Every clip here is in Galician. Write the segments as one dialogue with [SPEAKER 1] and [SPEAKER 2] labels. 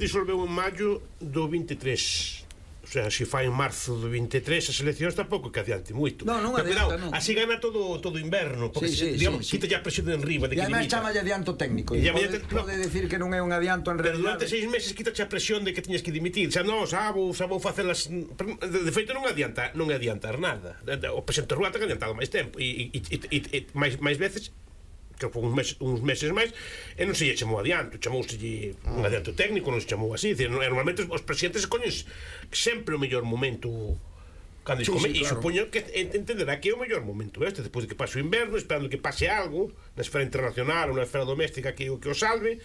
[SPEAKER 1] Disolveu en maio do 23. O sea, se fai en marzo do 23 as eleccións tampouco que adiante moito.
[SPEAKER 2] Non adianta, non.
[SPEAKER 1] Así gana todo inverno, porque digamos, quita ya a presión de enriba de que limita.
[SPEAKER 2] E además chamalle adianto técnico. Pode decir que non é un adianto en realidad.
[SPEAKER 1] Pero durante 6 meses quita a presión de que tiñas que dimitir. Xa vou facelas. De feito non adiantar nada. O presidente Rúa ten adiantado máis tempo e máis veces, que foi uns meses máis, e non se lle chamou adianto, chamouselle un adianto técnico, non se chamou así. Normalmente os presidentes coñen sempre o mellor momento cando e supoño que entenderá que é o mellor momento despois de que pase o inverno, esperando que pase algo na esfera internacional ou na esfera doméstica que o salve,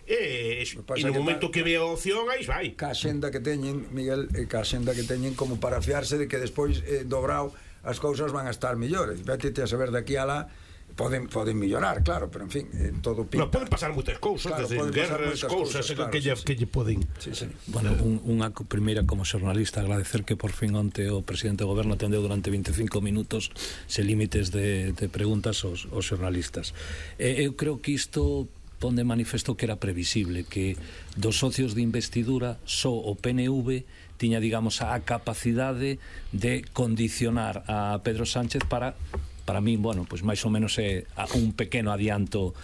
[SPEAKER 1] e no momento que vea a opción, aí vai.
[SPEAKER 2] Ca xenda que teñen, Miguel, ca xenda que teñen como para fiarse de que despois dobrao as cousas van a estar mellores. Vete a saber de aquí a lá. Poden mellorar, claro, pero en fin, todo pinta.
[SPEAKER 1] Poden pasar moitas cousas, desde guerras, cousas que lle poden.
[SPEAKER 3] Bueno, unha primeira como xornalista agradecer que por fin onte o presidente do goberno atendeu durante 25 minutos sen límites de preguntas aos xornalistas. Eu creo que isto pon de manifesto que era previsible, que dos socios de investidura só o PNV tiña, digamos, a capacidade de condicionar a Pedro Sánchez para min, bueno, pois máis ou menos é un pequeno adianto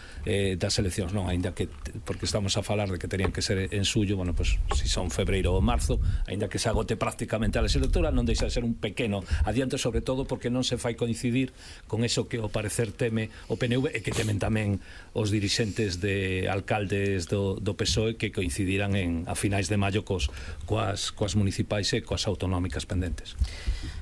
[SPEAKER 3] das eleccións, non, aínda que porque estamos a falar de que terían que ser en suyo, bueno, pois si son febreiro ou marzo, aínda que se agote prácticamente a legislatura, non deixa de ser un pequeno adianto, sobre todo porque non se fai coincidir con eso que ao parecer teme o PNV e que temen tamén os dirixentes de alcaldes do PSOE, que coincidirán a finais de maio coas municipais e coas autonómicas pendentes.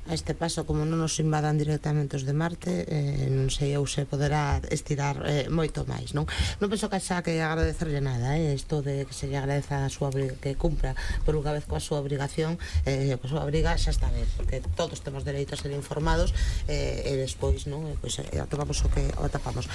[SPEAKER 4] A este paso, como non nos invadan directamente os de Marte, non sei eu se poderá estirar moito máis, non penso que xa que agradecerlle nada, isto de que se lle agradeza a súa que cumpra por unha vez coa súa obrigación, coa súa obriga xa está ben, porque todos temos dereito a ser informados, e despois non, atopamos o que atopamos.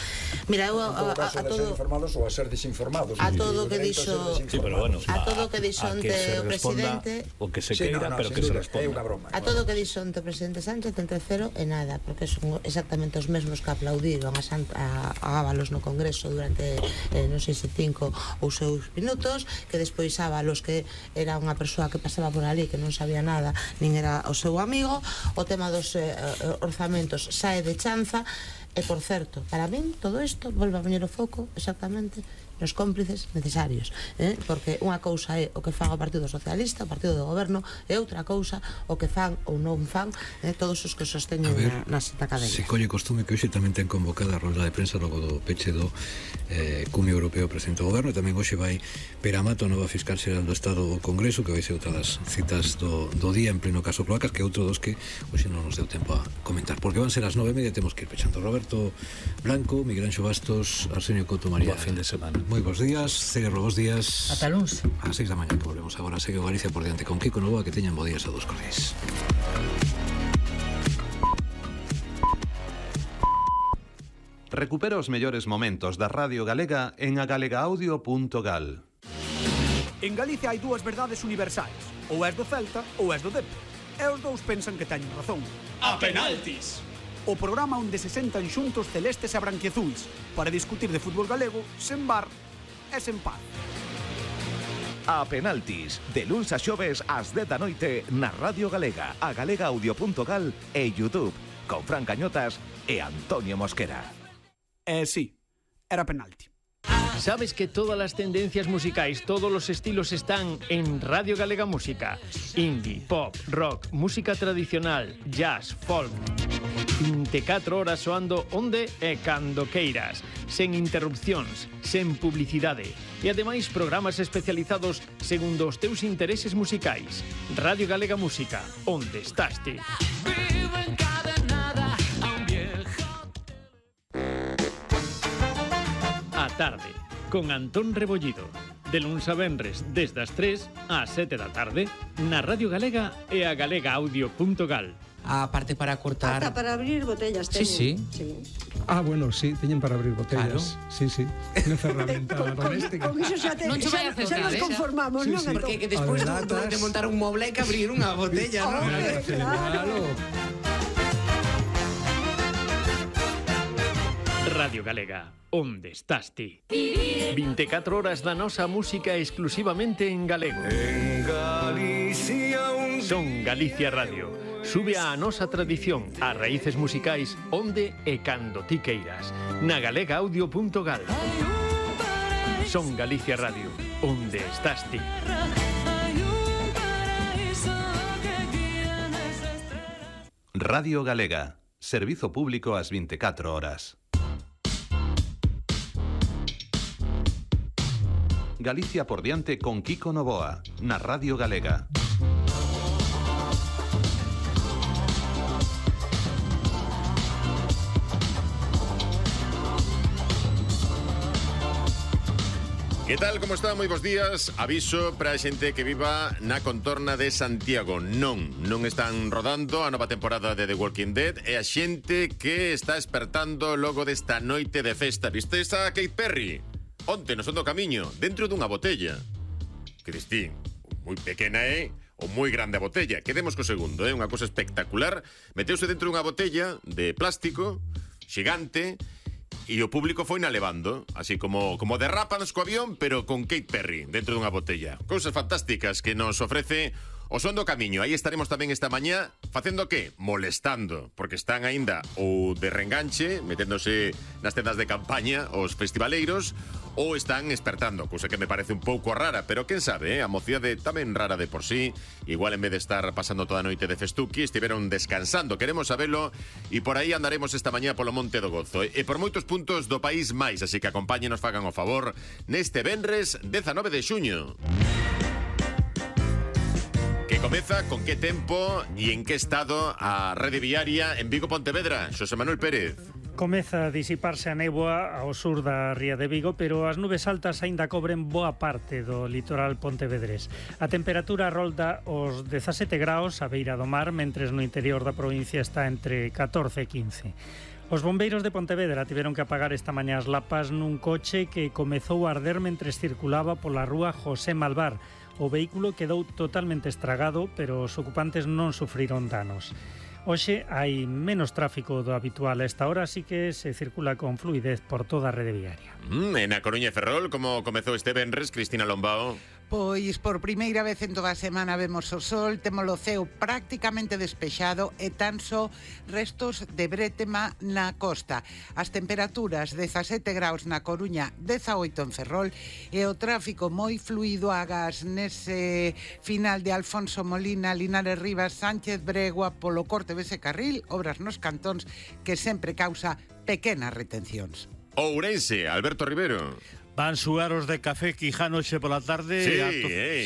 [SPEAKER 4] Mira, eu a todo
[SPEAKER 2] informados ou a ser desinformados,
[SPEAKER 4] a todo o que dixo, a todo o que dixo ante o presidente,
[SPEAKER 3] o que se queira, pero que se responda.
[SPEAKER 2] A
[SPEAKER 4] todo o que dixo ante o presidente Sánchez entre cero e nada, porque son exactamente os mesmos que aplaudiron a Ábalos no Congreso durante non sei se 5 ou 6 minutos, que despois Ábalos, que era unha persoa que pasaba por ali, que non sabía nada, nin era o seu amigo. O tema dos orzamentos sae de chanza. E, por certo, para min, todo isto volve a poñer o foco exactamente nos cómplices necesarios, porque unha cousa é o que fan o Partido Socialista, o Partido do Goberno, e outra cousa o que fan ou non fan todos os que sosteñen na cadena.
[SPEAKER 5] Se colle costume que hoxe tamén ten convocada a rolda de prensa logo do peche do Cumio Europeo Presidente do Goberno, e tamén hoxe vai Peramato, nova fiscal xeral do Estado do Congreso, que vai ser outra das citas do día en pleno caso Cloacas, que é outro dos que hoxe non nos deu tempo a comentar, porque van ser as 9:30, temos que ir pechando. Roberto Blanco, Miguel Anxo Bastos, Arsenio Couto María.
[SPEAKER 3] Boa fin de semana.
[SPEAKER 5] Moi bons días, Ceguerro, bons días.
[SPEAKER 6] Ata luns.
[SPEAKER 5] A 6 da mañá que volvemos agora. Segue o Galicia por diante con Kiko Novoa, que teñan bo días a dos cordiais.
[SPEAKER 7] Recupera os mellores momentos da Radio Galega en agalegaudio.gal.
[SPEAKER 8] En Galicia hai dúas verdades universais: ou és do Celta ou és do Dep. E os dous pensan que teñen razón.
[SPEAKER 9] A penaltis!
[SPEAKER 8] O programa onde se sentan xuntos celestes e branquiazuis para discutir de fútbol galego sen bar e sen paz.
[SPEAKER 10] A penaltis, de luns a xoves ás 10 da noite na Radio Galega, a galegaudio.gal e YouTube, con Fran Cañotas e Antonio Mosquera.
[SPEAKER 8] Sí, era penalti.
[SPEAKER 6] ¿Sabes que todas las tendencias musicais, todos los estilos están en Radio Galega Música? Indie, pop, rock, música tradicional, jazz, folk. 24 horas soando onde e cando queiras, sen interrupcións, sen publicidade. E ademais programas especializados segundo os teus intereses musicais. Radio Galega Música, onde estás ti? A tarde, con Antón Rebollido. De luns a venres, desde as 3 ás 7 da tarde, na Radio Galega e a galegaudio.gal.
[SPEAKER 11] A parte para cortar...
[SPEAKER 12] Ata para abrir botellas teñen.
[SPEAKER 11] Sí.
[SPEAKER 13] Bueno, sí, teñen para abrir botellas. Claro. Sí. Unha ferramenta doméstica.
[SPEAKER 12] Con iso xa
[SPEAKER 11] non vai a
[SPEAKER 12] xa nos conformamos, non?
[SPEAKER 11] Porque que despois de montar un moble hai que abrir unha botella, non?
[SPEAKER 12] Claro.
[SPEAKER 6] Radio Galega, onde estás ti? 24 horas da nosa música exclusivamente en galego. En Galicia Son Galicia Radio. Sube a nosa tradición, as raíces musicais, onde e cando ti queiras. Na galegaaudio.gal. Son Galicia Radio, onde estás ti?
[SPEAKER 7] Radio Galega. Servizo público ás 24 horas. Galicia por diante con Kiko Novoa, na Radio Galega.
[SPEAKER 14] Que tal, como está? Moi bons días. Aviso para a xente que viva na contorna de Santiago. Non están rodando a nova temporada de The Walking Dead. E a xente que está espertando logo desta noite de festa. Vistes a Katy Perry? Onte, no son do camiño, dentro dunha botella. Cristín, moi pequena ou moi grande a botella. Quedemos co segundo, unha cousa espectacular. Meteuse dentro dunha botella de plástico xigante e o público foi na levando, así como derrapan co avión, pero con Katy Perry dentro dunha botella. Cousas fantásticas que nos ofrece o Son do Camiño. Aí estaremos tamén esta mañá facendo que? Molestando, porque están aínda ou de reenganche, meténdose nas tendas de campaña os festivaleiros, ou están espertando, cousa que me parece un pouco rara, pero quen sabe, a mocidade tamén rara de por sí, igual en vez de estar pasando toda a noite de festuqui, estiveron descansando, queremos sabelo, e por aí andaremos esta mañá polo Monte do Gozo, e por moitos puntos do país máis, así que acompáñenos, fagan o favor, neste venres 19 de xuño. Que comeza con que tempo e en que estado a rede viaria en Vigo Pontevedra, Xosé Manuel Pérez.
[SPEAKER 15] Comeza a disiparse a néboa ao sur da ría de Vigo, pero as nubes altas aínda cobren boa parte do litoral pontevedrés. A temperatura rolda os 17 graus a beira do mar, mentres no interior da provincia está entre 14 e 15. Os bombeiros de Pontevedra tiveron que apagar esta mañá as lapas nun coche que comezou a arder mentres circulaba pola rúa José Malvar. O vehículo quedou totalmente estragado, pero os ocupantes non sufriron danos. Hoxe hai menos tráfico do habitual a esta hora, así que se circula con fluidez por toda a rede viaria.
[SPEAKER 14] En A Coruña e Ferrol, como comezou este venres, Cristina Lombao?
[SPEAKER 16] Pois por primeira vez en toda a semana vemos o sol, temos o ceo prácticamente despexado e tan só restos de brétema na costa. As temperaturas 17 graus na Coruña, 18 en Ferrol e o tráfico moi fluido agás nese final de Alfonso Molina, Linares Rivas, Sánchez Bregua, polo corte dese carril, obras nos cantóns que sempre causa pequenas retencións.
[SPEAKER 14] Ourense, Alberto Rivero.
[SPEAKER 17] Van suar os de Café Quijano xe pola tarde.
[SPEAKER 14] Sí,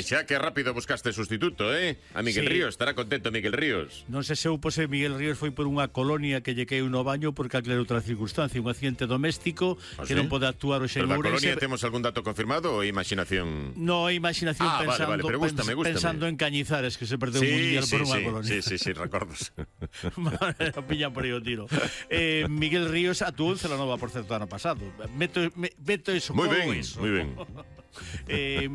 [SPEAKER 14] xa que rápido buscaste sustituto, A Miguel Ríos, estará contento Miguel Ríos.
[SPEAKER 17] Non se supo se Miguel Ríos foi por unha colonia que lle queu no baño porque aclarou outra circunstancia, un accidente doméstico que non pode actuar o
[SPEAKER 14] xen Ourense. Pero da colonia temos algún dato confirmado ou imaginación?
[SPEAKER 17] No, imaginación pensando,
[SPEAKER 14] pero gústame.
[SPEAKER 17] Pensando en Cañizares, que se perdeu un mundial por unha colonia.
[SPEAKER 14] Sí, recordos.
[SPEAKER 17] Pillan por aí o tiro. Miguel Ríos actuou en Celanova, por certo, ano pasado. Meto eso.
[SPEAKER 14] Moi ben.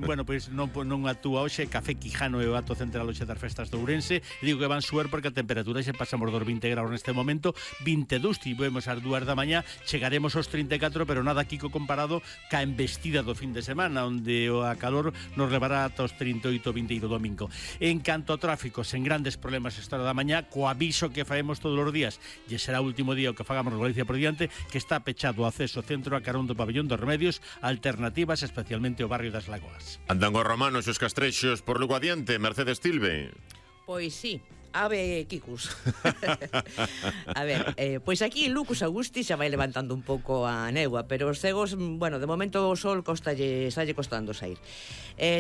[SPEAKER 17] Bueno, pois non actúa hoxe Café Quijano e o acto central hoxe das festas de Ourense. Digo que van suer porque a temperatura xa pasamos dos 20 graus neste momento, 22 tivemos ás 2 da mañá, chegaremos aos 34, pero nada Kiko comparado ca embestida do fin de semana, onde a calor nos levará ata os 38, 22 domingo. En canto ao tráfico, sen grandes problemas esta hora da mañá, co aviso que faemos todos os días, e será o último día o que fagamos no Galicia por diante, que está pechado o acceso centro a carón do pabellón dos Remedios, alternativas especialmente o barrio das Lagoas.
[SPEAKER 14] Andan os romanos e os castrexos por Lugo adiante, Mercedes Tilbe.
[SPEAKER 18] Pois sí, ave Kikus. A ver, pois aquí Lucus Augusti xa vai levantando un pouco a néboa, pero os cegos, bueno, de momento o sol estalle costando sair.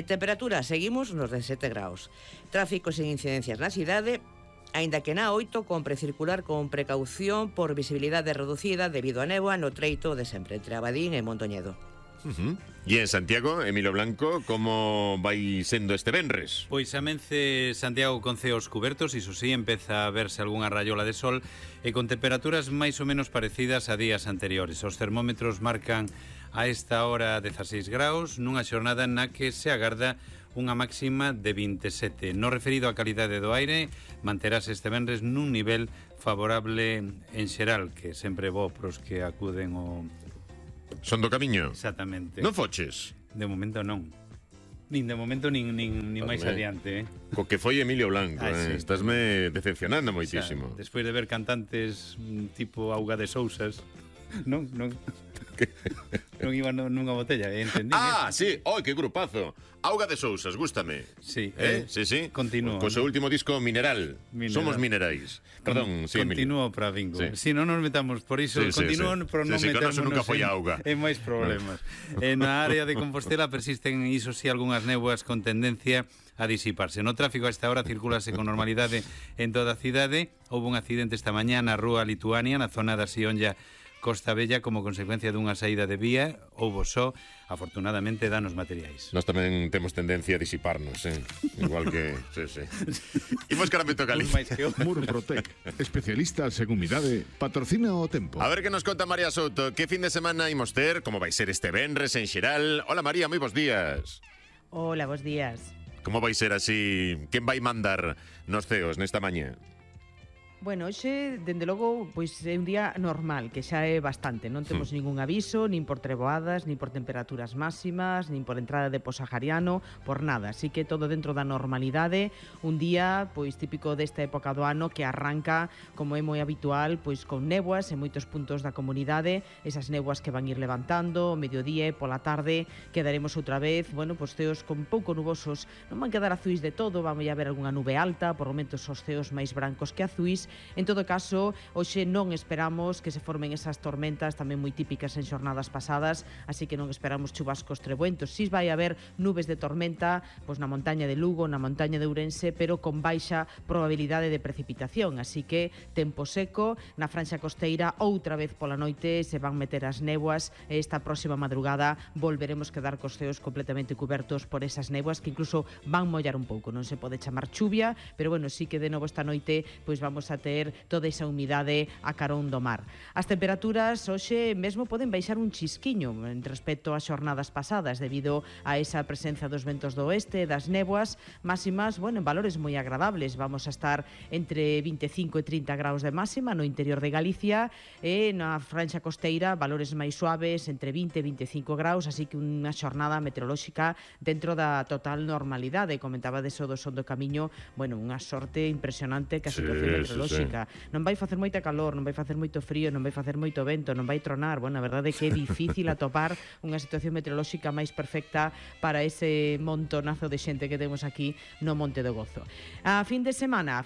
[SPEAKER 18] Temperatura, seguimos nos 17 graus. Tráfico sen incidencias na cidade, aínda que na 8 compre circular con precaución por visibilidade reducida debido a néboa no treito de sempre entre Abadín e Montoñedo.
[SPEAKER 14] E en Santiago, Emilio Blanco, como vai sendo este venres?
[SPEAKER 19] Pois amence Santiago con ceos cubertos, iso sí, empeza a verse algunha raiola de sol e con temperaturas máis ou menos parecidas a días anteriores. Os termómetros marcan a esta hora 16 graus, nunha xornada na que se agarda unha máxima de 27. No referido á calidade do aire, manterase este venres nun nivel favorable en xeral, que sempre é bo pros que acuden ao...
[SPEAKER 14] Son do camiño?
[SPEAKER 19] Exactamente.
[SPEAKER 14] Non foches?
[SPEAKER 19] De momento non. Nin de momento, nin máis adiante,
[SPEAKER 14] Co que foi Emilio Blanco,
[SPEAKER 19] sí.
[SPEAKER 14] Estásme decepcionando moitísimo.
[SPEAKER 19] O sea, despois de ver cantantes tipo Auga de Sousas, non iba nunha botella, entendí.
[SPEAKER 14] Sí, que grupazo. Auga de Sousas, gústame.
[SPEAKER 19] Sí,
[SPEAKER 14] sí.
[SPEAKER 19] Continúo.
[SPEAKER 14] Co seu último disco Mineral. Somos minerais. Perdón, sí,
[SPEAKER 19] Continúo para bingo. Si non nos metamos por iso, continúan, pero non metamos
[SPEAKER 14] nunca foi auga.
[SPEAKER 19] En máis problemas. Na área de Compostela persisten, iso sí, algunhas néboas con tendencia a disiparse. No tráfico a esta hora circulase con normalidade en toda a cidade. Houve un accidente esta mañá na rúa Lituania, na zona da Sionlla Costa Bella, como consecuencia dunha saída de vía. Houbo só, afortunadamente, danos materiais.
[SPEAKER 14] Nós tamén temos tendencia a disiparnos, igual que... sí. Imos caramento Galicia.
[SPEAKER 20] Murprotec, especialista en humidade, patrocina o tempo.
[SPEAKER 14] A ver que nos conta María Souto. Que fin de semana imos ter? Como vai ser este venres en xeral? Hola María, moi bons días.
[SPEAKER 21] Hola, bons días.
[SPEAKER 14] Como vai ser así? Quen vai mandar nos ceos nesta mañá?
[SPEAKER 21] Bueno, hoxe, dende logo, pois é un día normal, que xa é bastante. Non temos ningún aviso, nin por treboadas, nin por temperaturas máximas, nin por entrada de posahariano, por nada. Así que todo dentro da normalidade, un día pois típico desta época do ano que arranca, como é moi habitual, pois con néboas en moitos puntos da comunidade, esas néboas que van ir levantando, o mediodía e pola tarde quedaremos outra vez, bueno, pois ceos con pouco nubosos, non van quedar azuis de todo, van a haber algunha nube alta, por momentos os ceos máis brancos que azuis. En todo caso, hoxe non esperamos que se formen esas tormentas tamén moi típicas en xornadas pasadas, así que non esperamos chubascos trebuentos. Si vai haber nubes de tormenta pois na montaña de Lugo, na montaña de Ourense, pero con baixa probabilidade de precipitación, así que tempo seco. Na franxa costeira outra vez pola noite se van meter as néboas e esta próxima madrugada volveremos quedar cos ceos completamente cubertos por esas néboas que incluso van mollar un pouco. Non se pode chamar chuvia, pero bueno, sí que de novo esta noite pois vamos a ter toda esa humidade a carón do mar. As temperaturas hoxe mesmo poden baixar un chisquiño en respecto ás xornadas pasadas debido a esa presencia dos ventos do oeste, das néboas máximas, bueno, en valores moi agradables. Vamos a estar entre 25 e 30 graus de máxima no interior de Galicia e na franxa costeira valores máis suaves entre 20 e 25 graus, así que unha xornada meteorolóxica dentro da total normalidade. Comentaba deso do Son do Camiño, bueno, unha sorte impresionante que a situación meteorolóxica. Non vai facer moita calor, non vai facer moito frío, non vai facer moito vento, non vai tronar. Bueno, a verdade é que é difícil atopar unha situación meteorolóxica máis perfecta para ese montonazo de xente que temos aquí no Monte do Gozo. A fin de semana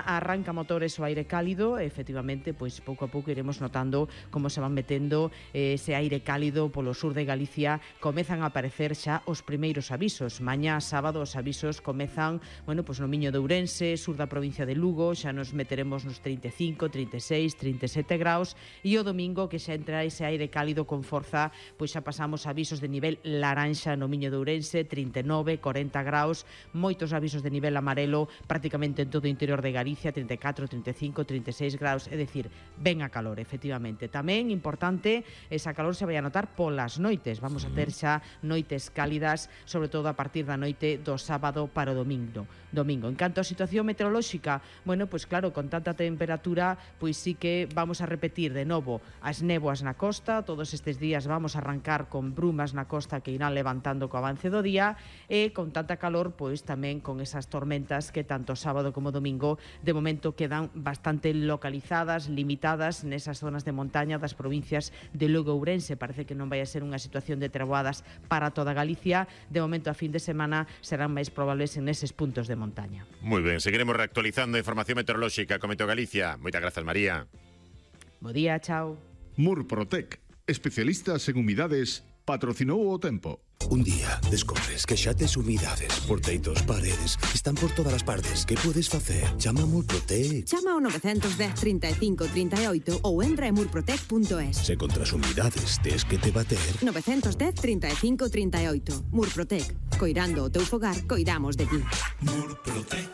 [SPEAKER 21] arranca motores o aire cálido, efectivamente, pois pouco a pouco iremos notando como se van metendo ese aire cálido polo sur de Galicia. Comezan a aparecer xa os primeiros avisos. Mañá sábado os avisos comezan, bueno, pois no Miño de Ourense, sur da provincia de Lugo, xa nos meteremos nos 35, 36, 37 graus e o domingo que xa entra ese aire cálido con forza, pois xa pasamos avisos de nivel laranxa no Miño de Ourense, 39, 40 graus, moitos avisos de nivel amarelo prácticamente en todo o interior de Galicia, 34, 35, 36 graus, é dicir, ben a calor, efectivamente. Tamén importante, esa calor se vai a notar polas noites, vamos a ter xa noites cálidas, sobre todo a partir da noite do sábado para o domingo. En canto á situación meteorolóxica, bueno, pois claro, con tanta temperatura, pois sí que vamos a repetir de novo as néboas na costa. Todos estes días vamos a arrancar con brumas na costa que irán levantando co avance do día e con tanta calor, pois tamén con esas tormentas que tanto sábado como domingo de momento quedan bastante localizadas, limitadas nesas zonas de montaña das provincias de Lugo e Ourense. Parece que non vai a ser unha situación de treboadas para toda Galicia. De momento a fin de semana serán máis probables en eses puntos de montaña.
[SPEAKER 14] Moi ben, seguiremos reactualizando a información meteorolóxica con Meteo Galicia. Moitas grazas, María.
[SPEAKER 21] Bo día, chao.
[SPEAKER 20] Murprotec, especialistas en humidades, patrocinou o tempo.
[SPEAKER 22] Un día descobres que xa tes humidades por teitos, paredes, están por todas as partes. Que podes facer? Chama a Murprotec.
[SPEAKER 23] Chama ao 910 35 38 ou entra en murprotec.es.
[SPEAKER 22] Se contra as humidades tes que te bater.
[SPEAKER 23] 910 35 38. Murprotec. Coirando o teu fogar, coidamos de ti.
[SPEAKER 6] Murprotec.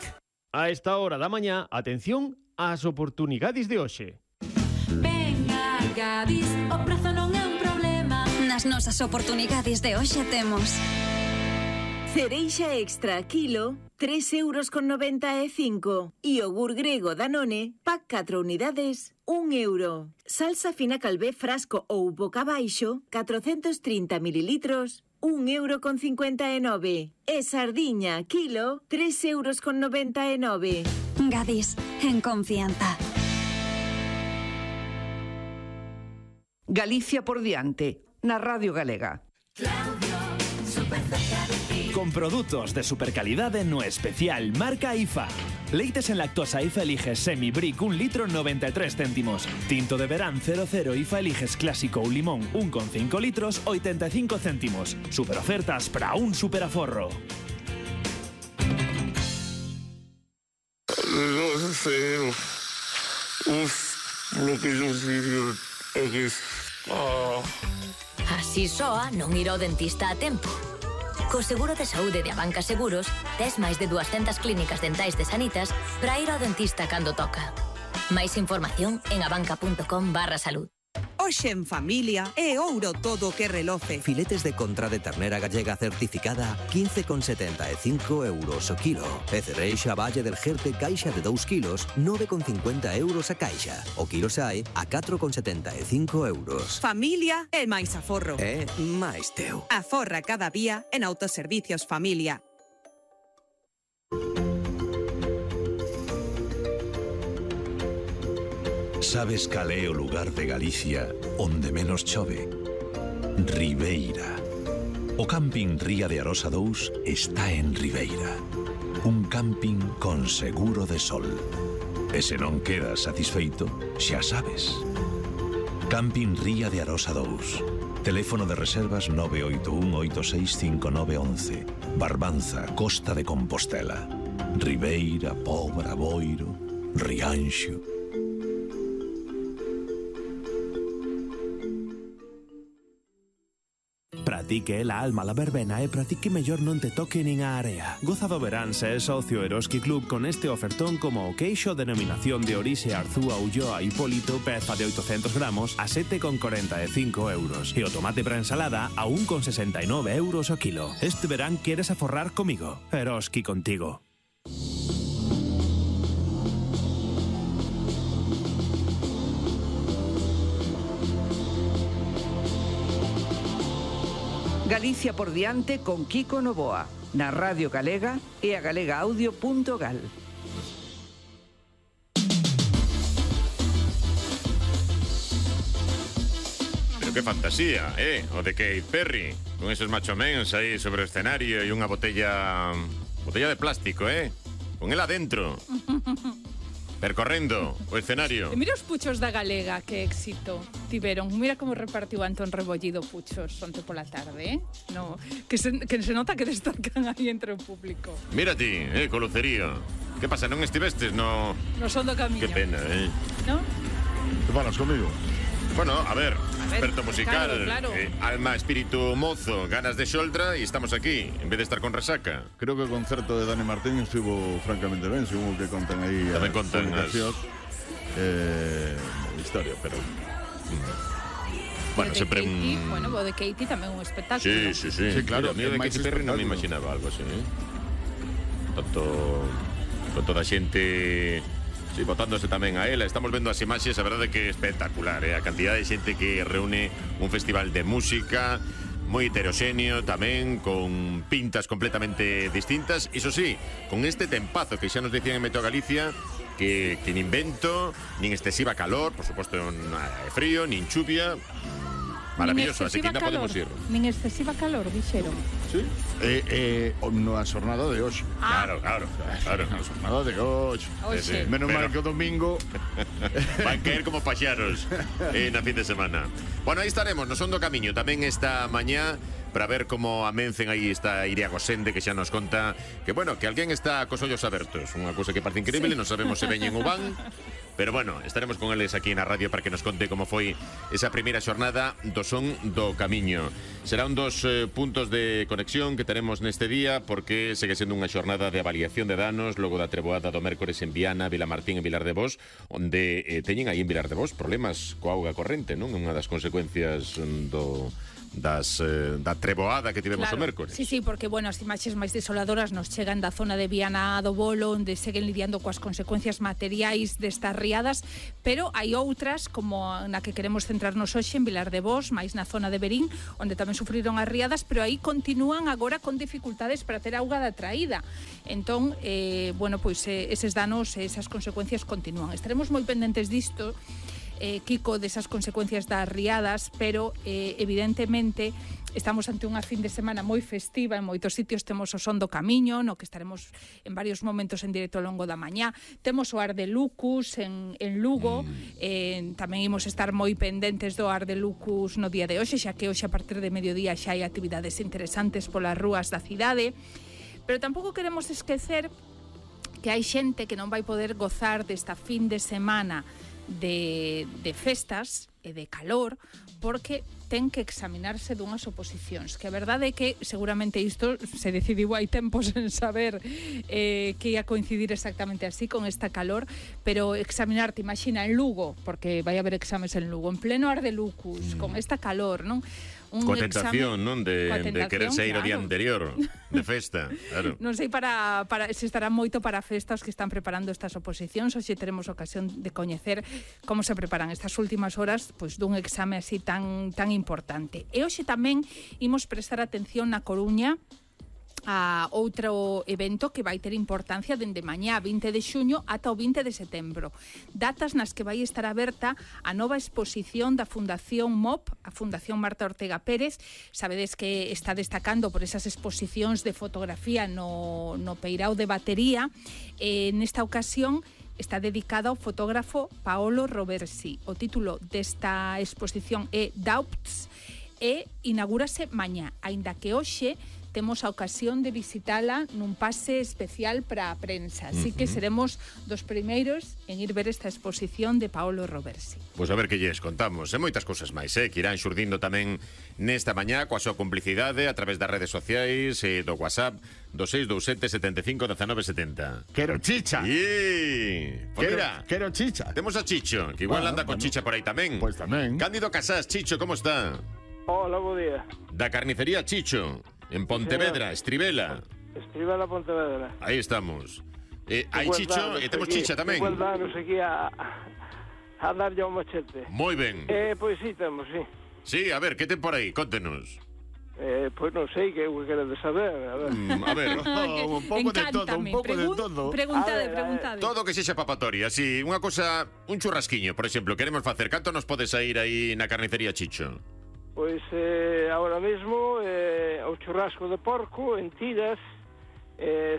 [SPEAKER 6] A esta hora da mañá, atención ás oportunidades de hoxe.
[SPEAKER 24] Venga, Gadis, o prezo non é un problema. Nas nosas oportunidades de hoxe temos
[SPEAKER 1] Cereixa extra kilo, 3,95 €. Iogur grego Danone, pack 4 unidades, 1 €. Salsa fina calvé frasco ou boca baixo, 430 mililitros, 1,59 €. E sardiña kilo, 3,99 €.
[SPEAKER 23] Gadis, en confianza.
[SPEAKER 2] Galicia por diante, na Radio Galega.
[SPEAKER 3] Con produtos de supercalidade no especial marca IFA. Leites en lactosa IFA eliges Semi Brick 1 litro 93 céntimos. Tinto de verán 00 IFA eliges clásico ou limón 1,5 litros 85 céntimos. Super ofertas para un super aforro.
[SPEAKER 4] Así soa non ir ao dentista a tempo. Co seguro de saúde de Abanca Seguros, tes máis de 200 clínicas dentais de Sanitas para ir ao dentista cando toca. Máis información en abanca.com/salud.
[SPEAKER 25] Hoxe en familia é ouro todo o que reloce.
[SPEAKER 26] Filetes de contra de ternera gallega certificada 15,75 € o kilo. E cereixa Valle del Jerte caixa de 2 kilos 9,50 € a caixa. O kilo sae a 4,75 €.
[SPEAKER 25] Familia é máis aforro.
[SPEAKER 26] É máis teu.
[SPEAKER 25] Aforra cada día en Autoservicios Familia.
[SPEAKER 10] Sabes cal é o lugar de Galicia onde menos chove? Ribeira. O camping Ría de Arosa 2 está en Ribeira. Un camping con seguro de sol. E se non quedas satisfeito, xa sabes. Camping Ría de Arosa 2. Teléfono de reservas 981865911. Barbanza, Costa de Compostela. Ribeira, Pobra, Boiro, Rianxo.
[SPEAKER 27] Pratique la alma la verbena e pratique mellor non te toque nin a area. Goza do verán se é socio Eroski Club con este ofertón como o queixo denominación de orixe Arzúa Ulloa Hipólito peza de 800 gramos a 7,45 € e o tomate para ensalada a 1,69 € o kilo. Este verán queres aforrar comigo. Eroski contigo.
[SPEAKER 2] Galicia por diante con Kiko Novoa, na Radio Galega e a galegaaudio.gal.
[SPEAKER 14] Pero qué fantasía, o de Katy Perry, con esos machomens aí sobre o escenario e unha botella de plástico, con el adentro. Percorrendo o escenario.
[SPEAKER 28] E mira os puchos da Galega, que éxito tiveron. Mira como repartiu Antón Rebollido puchos onte pola tarde, no, que se nota que destacan aí entre o público.
[SPEAKER 14] Mira ti, co lucerío. Que pasa, non estivestes no
[SPEAKER 28] Son do Camiño.
[SPEAKER 14] Que pena,
[SPEAKER 28] ¿No?
[SPEAKER 14] Que falas comigo? Bueno, a ver, experto musical,
[SPEAKER 28] claro.
[SPEAKER 14] Alma, espíritu mozo, ganas de xoldra e estamos aquí, en vez de estar con resaca.
[SPEAKER 29] Creo que o concerto de Dani Martín estuvo francamente ben, según o que contan aí
[SPEAKER 14] tamén contan
[SPEAKER 29] historia, pero...
[SPEAKER 14] Bueno, sempre
[SPEAKER 28] Bueno, o de Katy tamén un espectáculo.
[SPEAKER 14] Sí, claro, a mí de Katy Perry non me imaginaba algo así, Tanto con toda a xente... Sí, botándose tamén a ela. Estamos vendo as imaxes, a verdade que é espectacular, a cantidad de xente que reúne un festival de música moi heteroxéneo tamén, con pintas completamente distintas. Iso sí, con este tempazo que xa nos decían en Meteo Galicia, que nin vento, nin excesiva calor, por suposto frío, nin chuvia. Maravilloso, así que ainda podemos ir.
[SPEAKER 28] Nin excesiva calor, dixeron.
[SPEAKER 29] Sí, na xornada de hoxe.
[SPEAKER 14] Claro.
[SPEAKER 29] Na xornada de hoxe. Menos mal que o domingo
[SPEAKER 14] van caer como paxaros na fin de semana. Bueno, aí estaremos, no Son do Camiño tamén esta mañá para ver como amencen. Aí está Iria Gosende, que xa nos conta que, bueno, que alguén está cos ollos abertos. Unha cousa que parece increíble, non sabemos se veñen ou van. Pero bueno, estaremos con eles aquí na radio para que nos conte como foi esa primeira xornada do Son do Camiño. Será un dos puntos de conexión que teremos neste día, porque segue sendo unha xornada de avaliación de danos logo da treboada do mércores en Viana, Vilamartín e Vilar de Bos, onde teñen aí en Vilar de Bos problemas coa auga corrente, non? Unha das consecuencias da treboada que tivemos o mércores.
[SPEAKER 28] Sí, porque, bueno, as imaxes máis desoladoras nos chegan da zona de Viana do Bolo, onde seguen lidiando coas consecuencias materiais destas riadas, pero hai outras, como na que queremos centrarnos hoxe, en Vilar de Bos, máis na zona de Berín, onde tamén sufriron as riadas, pero aí continúan agora con dificultades para ter auga da traída. Entón, bueno, pois eses danos, esas consecuencias continúan. Estaremos moi pendentes disto, Kiko, desas consecuencias das riadas, pero evidentemente estamos ante unha fin de semana moi festiva, en moitos sitios temos o Son do Camiño, no que estaremos en varios momentos en directo ao longo da mañá, temos o Ar de Lucus en Lugo, tamén imos estar moi pendentes do Ar de Lucus no día de hoxe, xa que hoxe a partir de mediodía xa hai actividades interesantes polas rúas da cidade, pero tampouco queremos esquecer que hai xente que non vai poder gozar desta fin de semana de festas e de calor porque ten que examinarse dunhas oposicións, que a verdade é que seguramente isto se decidiu hai tempos en saber que ia coincidir exactamente así con esta calor, pero examinarte, imagina, en Lugo, porque vai haber exames en Lugo, en pleno Ar de Lucus, con esta calor, non?
[SPEAKER 14] Coa tentación, non? De querer sair o día anterior de festa, claro.
[SPEAKER 28] Non sei se estará moito para festas que están preparando estas oposicións, ou se teremos ocasión de coñecer como se preparan estas últimas horas pois dun exame así tan importante. E hoxe tamén imos prestar atención na Coruña a outro evento que vai ter importancia dende mañá 20 de xuño ata o 20 de setembro. Datas nas que vai estar aberta a nova exposición da Fundación MOP, a Fundación Marta Ortega Pérez. Sabedes que está destacando por esas exposicións de fotografía no Peirao de Batería. Nesta ocasión está dedicada ao fotógrafo Paolo Roversi. O título desta exposición é Doubts e inaugúrase mañá, aínda que hoxe temos a ocasión de visitala nun pase especial para a prensa. Así que seremos dos primeiros en ir ver esta exposición de Paolo Roversi.
[SPEAKER 14] Pois a ver que lles contamos. E moitas cousas máis, que irán xurdindo tamén nesta mañá coa súa complicidade a través das redes sociais e do WhatsApp do 627 75 19 70.
[SPEAKER 29] Quero chicha.
[SPEAKER 14] Quero chicha. Temos a Chicho, que igual anda con chicha por aí tamén.
[SPEAKER 29] Pois tamén.
[SPEAKER 14] Cándido Casás, Chicho, como está?
[SPEAKER 5] Hola, bo día.
[SPEAKER 14] Da carnicería Chicho, en Pontevedra, Estribela.
[SPEAKER 5] Estribela, Pontevedra.
[SPEAKER 14] Aí estamos. Hai Chicho e temos chicha tamén.
[SPEAKER 5] Igual danos aquí a darlle ao machete.
[SPEAKER 14] Moi ben.
[SPEAKER 5] Pois sí, temos, sí.
[SPEAKER 14] Sí, a ver, que ten por aí? Contenos.
[SPEAKER 5] Pois non sei, que queredes saber.
[SPEAKER 14] A ver,
[SPEAKER 5] un pouco de todo,
[SPEAKER 28] Preguntade.
[SPEAKER 14] Todo que sexa papatoria, si, unha cosa, un churrasquiño, por exemplo, queremos facer. Canto nos pode sair aí na carnicería Chicho?
[SPEAKER 5] Pois ahora mesmo o churrasco de porco en tiras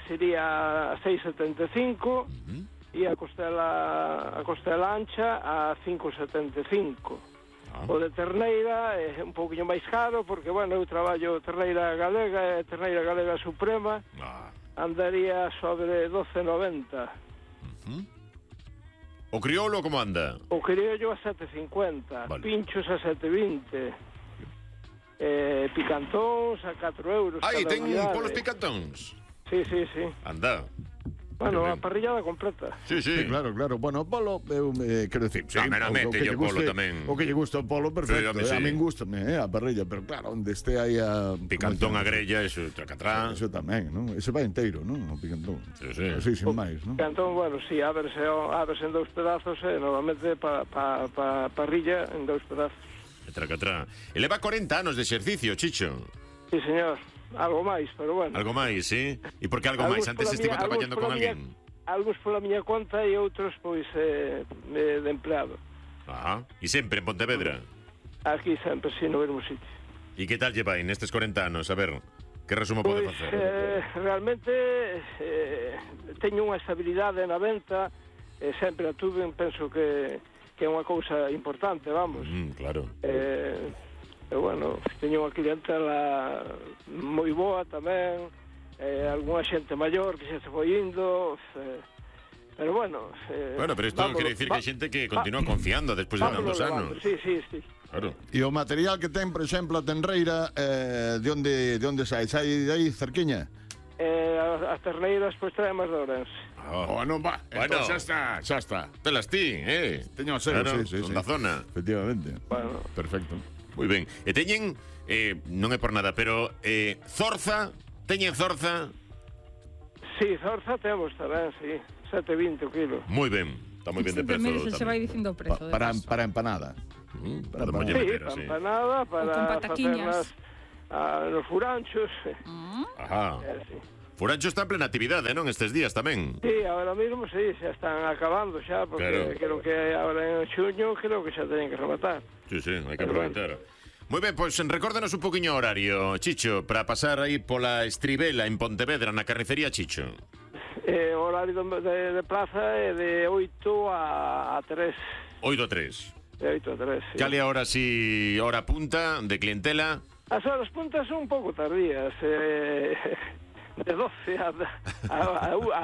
[SPEAKER 5] sería a 6,75 e a costela ancha a 5,75. O de terneira é un pouquinho máis caro porque, bueno, eu traballo terneira galega e terneira galega suprema, andaría sobre 12,90.
[SPEAKER 14] O crioulo como anda?
[SPEAKER 5] O criollo a 7,50, pinchos a 7,20. Picantóns a 4 euros.
[SPEAKER 14] Aí, ten polos picantóns?
[SPEAKER 5] Sí.
[SPEAKER 14] Anda.
[SPEAKER 5] Bueno, a parrillada completa.
[SPEAKER 14] Sí.
[SPEAKER 29] Claro. Bueno, polo, quero dicir, sí,
[SPEAKER 14] meramente yo polo tamén.
[SPEAKER 29] O que lle gusta o polo, perfecto.
[SPEAKER 14] Sí.
[SPEAKER 29] A min gustame, a parrilla, pero claro, onde este aí a
[SPEAKER 14] picantón a grella, eso, tracatrá.
[SPEAKER 29] Eso tamén, non? Ese vai inteiro, non? O picantón.
[SPEAKER 14] Sí.
[SPEAKER 29] Así, sin máis, non?
[SPEAKER 5] Picantón, bueno, sí, ábrese en dous pedazos, normalmente para parrilla en dous pedazos.
[SPEAKER 14] Tracatrá. E leva 40 anos de exercicio, Chicho.
[SPEAKER 5] Sí, señor. Algo máis, pero bueno.
[SPEAKER 14] Algo máis, sí? E por que algo máis? Antes estivo traballando con alguén?
[SPEAKER 5] Algúns pola miña conta e outros, pois, de empleado.
[SPEAKER 14] E sempre en Pontevedra?
[SPEAKER 5] Aquí sempre, sí, no mesmo sitio.
[SPEAKER 14] E que tal lleva aí nestes 40 anos? A ver, que resumo pode facer?
[SPEAKER 5] Realmente teño unha estabilidade na venta, sempre a tuve, penso que é unha cousa importante, vamos.
[SPEAKER 14] Claro.
[SPEAKER 5] Bueno, teño unha clientela moi boa tamén, algunha xente maior que xa se foi indo, pero bueno...
[SPEAKER 14] pero isto quere dicir que hai xente que continúa confiando despois de tantos anos.
[SPEAKER 5] Sí.
[SPEAKER 14] Claro.
[SPEAKER 29] E o material que ten, por exemplo, a tenreira, de onde sai? Sai de aí, cerquiña?
[SPEAKER 5] As terneiras, pois, traen máis de Ourense.
[SPEAKER 29] Non va, entón xa está.
[SPEAKER 14] Telas ti,
[SPEAKER 29] Teño a ser, sí.
[SPEAKER 14] Da zona.
[SPEAKER 29] Efectivamente.
[SPEAKER 5] Bueno.
[SPEAKER 29] Perfecto.
[SPEAKER 14] Moi ben. E teñen, non é por nada, pero zorza, teñen zorza?
[SPEAKER 5] Sí, zorza temos tamén, sí. 7,20 o kilo.
[SPEAKER 14] Moi ben. Está moi ben de prezo.
[SPEAKER 28] Mire, se vai dicindo o prezo.
[SPEAKER 29] Para empanada.
[SPEAKER 14] Para
[SPEAKER 5] empanada, para facerlas nos furanchos.
[SPEAKER 14] Ajá. Furancho está en plena actividade, non? Estes días tamén.
[SPEAKER 5] Sí, ahora mismo sí, xa están acabando xa, porque creo que ahora en xuño creo que xa teñen que rematar.
[SPEAKER 14] Sí, hai que aproveitar. Moi ben, pois recórdanos un poquinho o horario, Chicho, para pasar aí pola Estribela en Pontevedra, na carnicería Chicho.
[SPEAKER 5] O horario de plaza é de 8 a 3.
[SPEAKER 14] 8 a 3.
[SPEAKER 5] De 8 a 3, sí.
[SPEAKER 14] Cale ahora si hora punta de clientela?
[SPEAKER 5] As horas puntas son un pouco tardías, de 12 a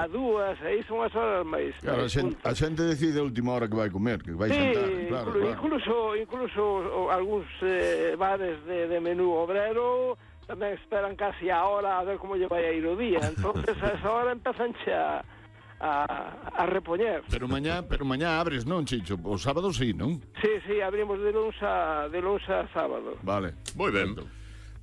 [SPEAKER 5] 2, aí son as horas máis.
[SPEAKER 29] Claro, a xente decide a última hora que vai comer, que vai sentar. Claro,
[SPEAKER 5] incluso algúns bares de menú obrero tamén esperan casi a hora a ver como lle vai a ir o día. Entonces a esa hora empezan a repoñer.
[SPEAKER 29] Pero mañá abres, non, Chicho? O sábado sí, non?
[SPEAKER 5] Sí, abrimos de luns a sábado.
[SPEAKER 29] Vale.
[SPEAKER 14] Moi ben.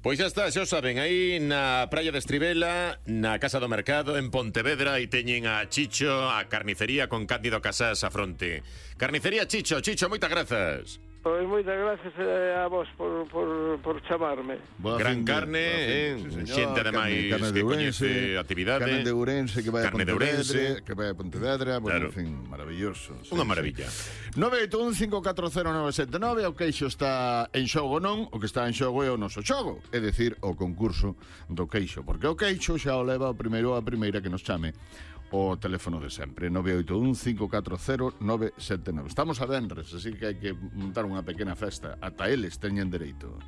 [SPEAKER 14] Pois xa está, xa o saben, aí na praia de Estribela, na Casa do Mercado, en Pontevedra, aí teñen a Chicho, a carnicería con Cándido Casás a fronte. Carnicería Chicho, moitas grazas.
[SPEAKER 5] Pois moitas gracias a vos por chamarme.
[SPEAKER 14] Gran carne, xente ademais que coñece a actividade.
[SPEAKER 29] Carne de Ourense que vai a Pontevedra, bueno, en fin, maravilloso.
[SPEAKER 14] Unha maravilla.
[SPEAKER 29] 981540979, o queixo está en xogo non, o que está en xogo é o noso xogo, é dicir, o concurso do queixo, porque o queixo xa o leva o primeiro a primeira que nos chame o teléfono de sempre, 981540979. Estamos a venres, así que hai que montar unha pequena festa. Ata eles teñen dereito.